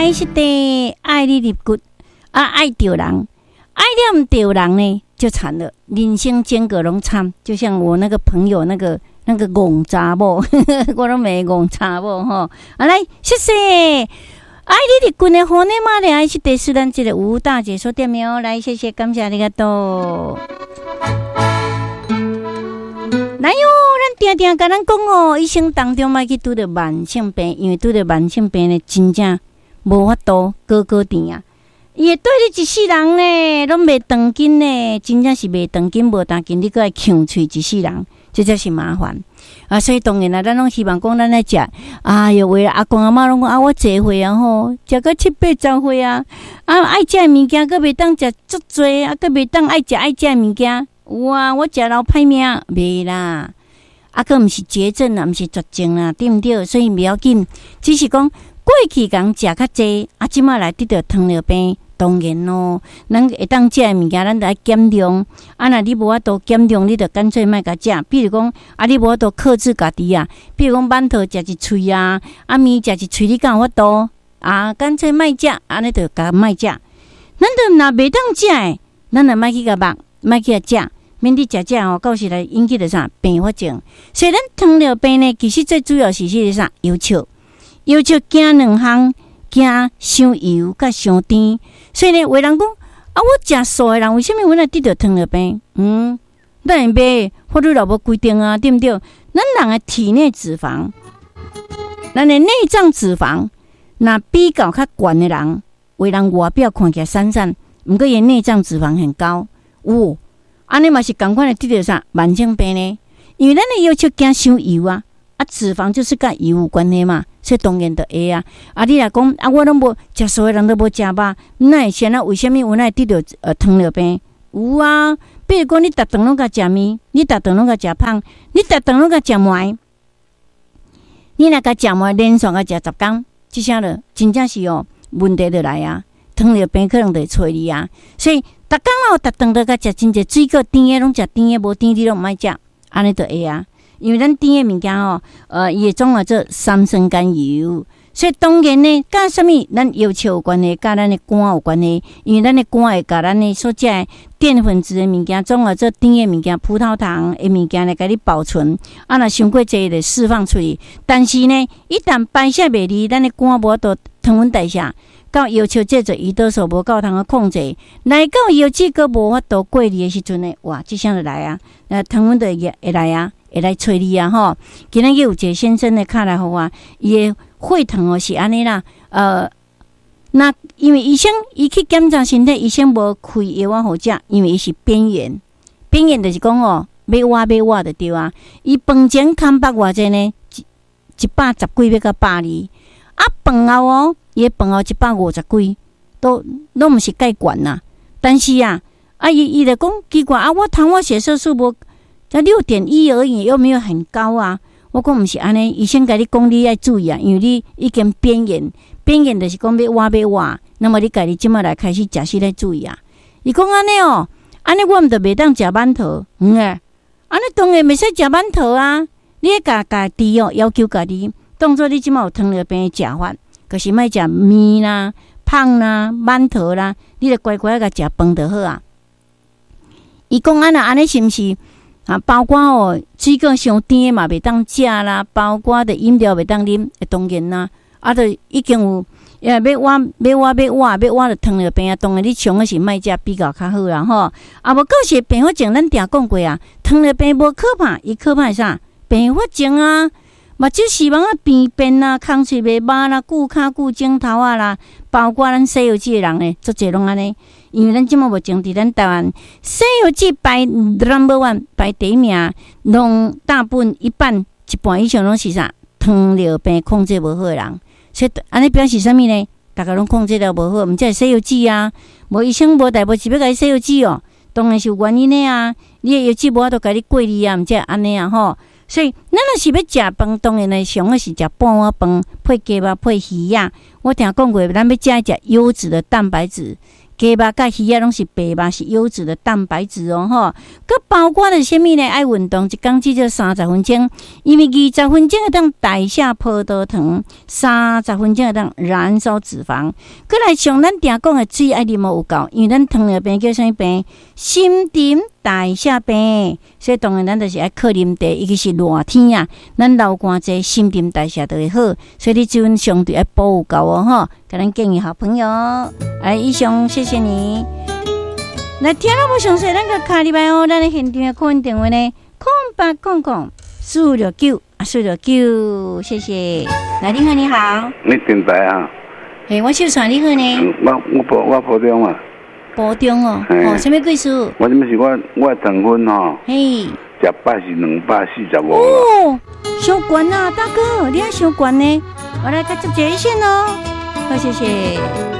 愛惜地，愛你入骨，啊，愛著人，愛了毋著人呢，就慘了，人生整個攏慘。就像我那個朋友那個戇查某，我攏罵戇查某吼。啊來，謝謝。愛你入骨的好呢嘛咧，愛惜地是咱這個吳大姐所點的哦。來，謝謝，感謝阿里嘎多。來喲，咱定定共咱講哦，一生當中莫去拄著慢性病，因為拄著慢性病呢，真正無法度過過甜啊！伊會綴你一世人呢，攏袂斷緊呢，真正是袂斷緊無彈緊，你閣愛劊喙一世人，這才是麻煩啊！所以當然啦，咱攏希望講咱愛食，哎喲，為阿公阿嬤攏講啊，我濟歲啊吼，食到七八十歲啊，啊愛食的物件閣袂當食足濟，啊閣袂當愛食愛食的物件。有啊，我食老歹命，袂啦，啊，閣毋是絕症啊，毋是絕症啦，對毋對？所以袂要緊，只是講過去共食較濟，啊，這馬來得著糖尿病，當然咯，咱會當食的物件，咱著愛減量。啊，若你無法度減量，你著乾脆莫共食。比如講，啊，你無法度克制家己啊，比如講饅頭食一喙啊，啊麵食一喙，你敢有法度？啊，乾脆莫食，按呢著共莫食。咱著若袂當食的，咱著莫去共肉，莫去共食。免得食食吼，到時來引起著啥併發症。所以咱糖尿病呢，其實最主要是彼個啥藥笑，藥笑驚兩項，驚傷油佮傷甜。所以呢，有人講啊，我食素的人，為啥物阮會得著糖尿病？嗯，當然袂，法律也無規定啊，對毋對？咱人的體內脂肪，咱的內臟脂肪，若比較較懸的人，有人外表看起來瘦瘦，毋過伊內臟脂肪很高，有。按呢嘛是仝款會得著啥慢性病呢？因為咱的藥笑驚傷油啊，啊脂肪就是佮油有關係嘛，所以當然就會啊。啊，你若講啊，我攏無食素的人都無食肉，哪會先啊？為啥物阮會得著糖尿病？有啊，比如講你逐頓攏共食麵，你逐頓攏共食麭，你逐頓攏共食糜，你若共食糜連續共食10工，這啥落真正是哦問題就來啊！糖尿病可能就會揣你啊，所以逐工哦，逐頓都共食真濟水果，甜的攏食甜的，無甜你攏毋愛食，按呢就會啊。因為咱甜的物件吼，伊會轉化做三酸甘油，所以當然呢，佮啥物咱藥笑有關係，佮咱的肝有關係，因為咱的肝會共咱的所食的澱粉質的物件轉化做甜的物件，葡萄糖的物件來共你保存。啊，若傷過濟就釋放出去。但是呢，一旦排泄袂利，咱的肝無法度糖分代謝。到藥笑製造胰島素無夠通去控制，來到藥脂閣無法度過濾的時陣呢，哇，這聲就來啊，糖分就會來啊，會來揣你啊吼。今仔日有一個先生呢，敲來予我，伊的血糖哦是按呢啦，那因為醫生伊去檢查身體，醫生無開藥仔予食，因為伊是邊緣，邊緣就是講哦，欲倚欲倚就對啊。伊飯前空腹偌濟呢？110幾欲到120，啊飯後哦。伊的飯後150幾，都攏毋是蓋懸啦。但是啊，啊伊就講奇怪啊，我糖化血色素無才6.1而已，又沒有很高啊。我講毋是按呢，醫生共你講你愛注意啊，因為你已經邊緣，邊緣就是講欲倚欲倚，那麼你家己這馬來開始食食來注意啊。伊講按呢哦，按呢我毋就袂當食饅頭，嗯欸，按呢當然袂使食饅頭啊。你愛共家己哦，要求家己，當做你這馬有糖尿病的食法。就是莫食麵啦、麭啦、饅頭啦，你著乖乖共食飯就好啊。伊講啊，若按呢是毋是啊？包括哦，水果傷甜的嘛袂當食啦，包括著飲料袂當啉，當然啦。啊，著已經有，欲倚欲倚欲倚欲倚著糖尿病啊。當然你上好是莫食比較較好啦吼。啊，無到時併發症，咱定講過啊，糖尿病無可怕，伊可怕是啥？併發症啊！目睭視網仔病變啦，空喙袂捌啦，久跤久指頭仔啦，包括咱洗藥水的人呢，足濟攏按呢。因為咱這馬目前佇咱台灣洗藥水排 number one 排第一名，攏大部分一半一半以上攏是啥？糖尿病控制無好的人，所以按呢表示啥物呢？逐家攏控制了無好，毋才會洗藥水啊！無醫生無代無誌欲共你洗藥水哦，當然是有原因的啊！你的藥脂無法度共你過濾啊，毋才會按呢啊吼。所以，咱若是欲食飯，當然呢，上好是食半碗飯，配雞肉，配魚仔。我定講過，咱欲食食優質的蛋白質，雞肉佮魚仔攏是白肉，是優質的蛋白質哦，吼。閣包括著啥物呢？愛運動，一工至少三十分鐘，因為二十分鐘會當代謝葡萄糖，三十分鐘會當燃燒脂肪。閣來像咱定講的水愛啉有夠，因為咱糖尿病叫啥物病？新陳代謝病，所以當然咱就是愛靠啉茶，尤其是熱天啊，咱流汗濟，新陳代謝就會好，所以你水分相對愛補有夠哦，吼。共咱建議好朋友，來，以上謝謝你。來聽了無詳細，咱閣敲入來哦，咱的現場的 call in 電話呢，0800 469啊469，謝謝。來，你好，你好。你電台啊？嘿，我秀傳，你好呢。我埔中啊。埔中哦，哦，啥物故事？我這是我糖分吼，嘿，食飽是245。哦，傷懸啊，大哥，你也傷懸呢。我來較接一線哦，好，謝謝。